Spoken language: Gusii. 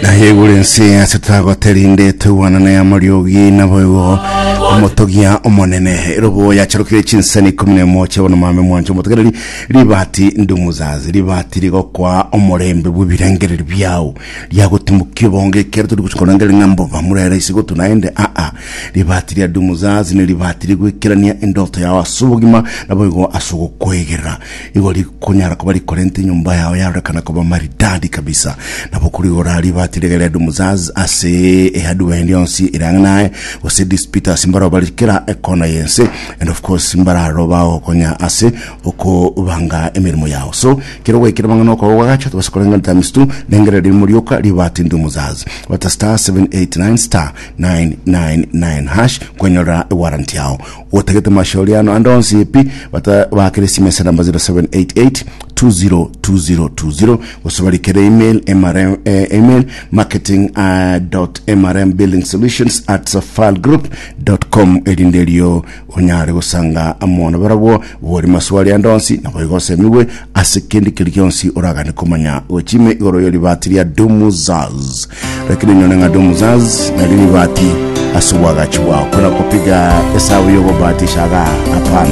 Naye ense ase tagoterinde toigwanana ya mariogi naboigo omotogia omonene erobo yacharokire chinsani ikomi na emo chiabono mame mwancho omotegereri ribati ndumuzazi ribati rigokwa omorembe bw'ebirengereri biao riagotimokia obonge ekero tori gochia korengereria ng'a mboba murere ase gotwa naende aa ribati ria ndumuzazi ne ribati rigwekerania endoto yao ase obogima naboigo ase ogokoegerera Igo rikonyara koba rikorenta enyomba yao yarorekana koba maridadi kabisa. Nabo korigora ribati riria ria Dumuzaz ase ehardware ende yonsi ere ang'e naye, gose disputers mbaroo bare kera ekona y'ense, and of course mbararo bagokonya ase okobanga emeremo yao. So, kero gwaikire mang'ana okoba gwagacha tobasa koreng'ana times two, rengereria rimo rioka ribati Dumuzaz. Bata star 789 star 999 hash kwenyorera ewarranty yao. Otagete mashauriano ande onsi pi, bata bakere esimi ase namba 0788 202020 gose barikere email mrm, eh, email marketing uh, dot mrm building solutions at safalgroup dot com erinde erio onyare gosanga amo na barabwo bori maswali ande onsi nabo igo osemigwe ase kende keri gionsi oragane komanya gochime igoro y'oribati ria Dumuzaz. Lakini nyone ng'a Dumuzaz nari ribati ase obwagachi bwao. Kona kopiga esabu y'ogobatisha igaa hapana.